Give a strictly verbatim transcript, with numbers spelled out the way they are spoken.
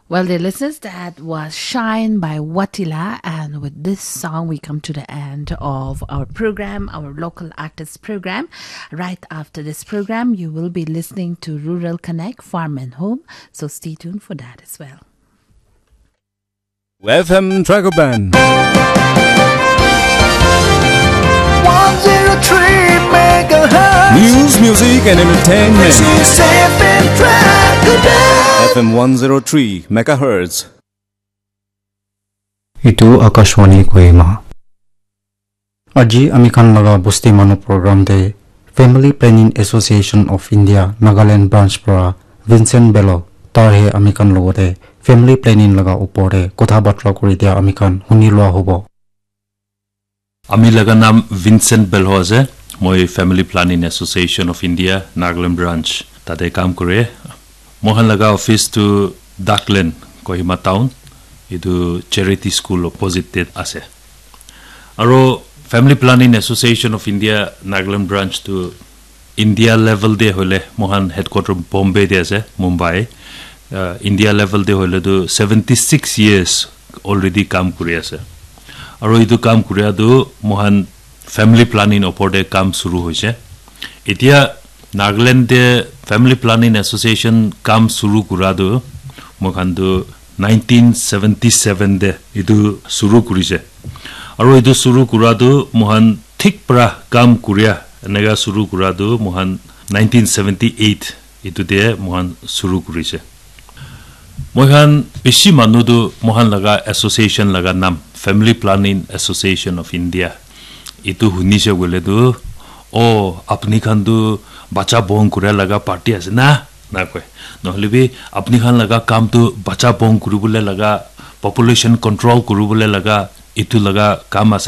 Well, dear listeners, that was Shine by Watila. And with this song, we come to the end of our program, our local artist program. Right after this program, you will be listening to Rural Connect, Farm and Home. So stay tuned for that as well. F M Dragon Band. One zero three megahertz. News, music, and entertainment. This is F M Dragon Band. F M one zero three megahertz. Itu Akashvani Kohima. Aji ami khan laga bosti manu program te Family Planning Association of India Nagaland branch para Vincent Belo, tar he ami khan logote family planning laga upor te kotha batra kuri dia ami khan huni lua hobo. Ami laga naam Vincent Belo ase. Moi Family Planning Association of India Nagaland branch tate kam kore. Mohan laga office tu Darkland, Kohima town. Itu charity school opposite te ase. Aro Family Planning Association of India Nagaland branch tu India level te hoile mohan headquarter Bombay te ase, Mumbai. Uh, India level te hoile tu seventy six years already kam kuri ase. Aro itu kam kuria tu mohan family planning opor te kam suru hoise. Etia Nagaland te Family Planning Association kam suru kura tu moikhan tu nineteen seventy seven te itu suru kurise. Aro itu suru kura tu moikhan thik pra kam kuria eneka suru kura tu moikhan nineteen seventy eight itu te moikhan suru kurise. Moikhan bishi manu tu moikhan laga association laga naam Family Planning Association of India itu hunise koile tu, "Oh, apni khan tu bacha bon kura laga party ase na?" Na koi. Nohole bi, "Apni khan laga kam tu bacha bon kuribole laga, population control kuribole laga, itu laga kam ase."